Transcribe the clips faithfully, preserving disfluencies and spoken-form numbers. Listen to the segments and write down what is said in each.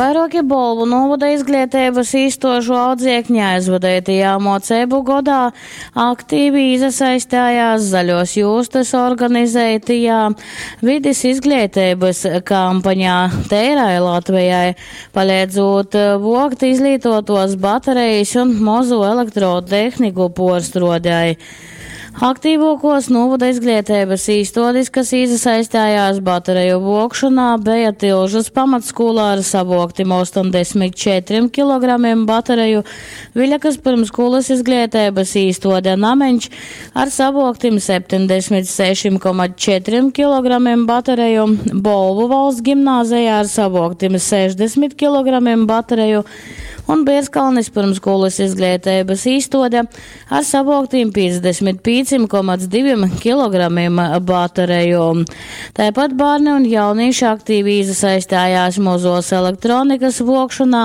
Vairuoki Bolvu nūvoda izgleiteibys īstuožu audziekni aizvadeitajā muoceibu godā aktivi īsasaistējās Zaļuos jūstys organizeitajā vidis izgleiteibys kampaņā Teirai Latvejai, paleidzūt vuokt izlītuotuos batarejis un mozū elektrotehniku puorstruodei. Aktīvuokuos nūvoda izgleiteibys īstuodis, kas īsasaistējās batareju vuokšonā, beja Tilžys pamatskūla ar savuoktim ostoņdesmit četrim kilogramim batareju, Viļakys pyrmsskūlys izgleiteibys īstuode Nameņš ar savuoktim septeņdesmit sešim koma četrim kilogramim batareju, Bolvu valsts gimnāzeja ar savuoktim sešdesmit kilogramim batareju un Bierzkalnis pyrmsskūlys izgleiteibys īstuode ar savuoktim piecdesmit pīcim koma divim kilogramim batareju. Tāpat bērni un jaunieši aktīvi iesaistījās mozos elektronikas vokšanā,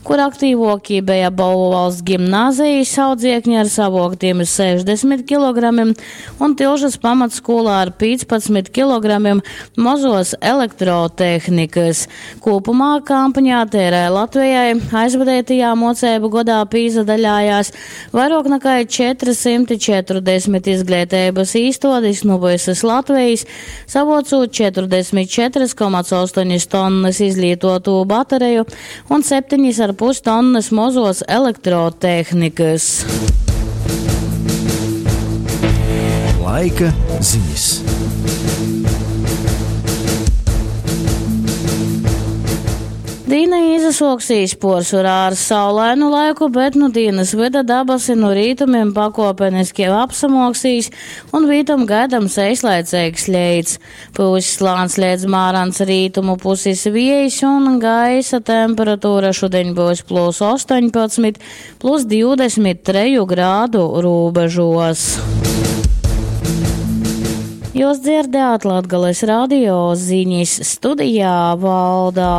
kur aktīvākie bija Bolvu valsts gimnāzijas audziekņi ar savuoktiem sešdesmit kilogramiem un Tilžas pamatskolā ar piecpadsmit kilogramiem mozos elektrotehnikas. Kopumā kampaņā Tērai Latvijai aizvadītajā mocību gadā pīzadaļājās vairāk nekā četrsimt četrdesmit izglītības īstādes no visas Latvijas, savocot četrdesmit četras koma astoņas tonnas izlietotu batereju un septiņas ar pus tonnas mozos elektrotehnikas. Laika ziņas. Dīna izasoksīs porcelāna ar saulainu laiku, bet nu dienas vida dabasi no rītumiem pakopeniski apsamoksīs un vītam gaidams eislaicīgs leits. Puses slāns liedz mārans rītumu puses viejs un gaisa temperatūra šodien būs plus astoņpadsmit, plus divdesmit treju grādu robežos. Jūs dzirdējāt Latgales radio ziņas studijā Valdā.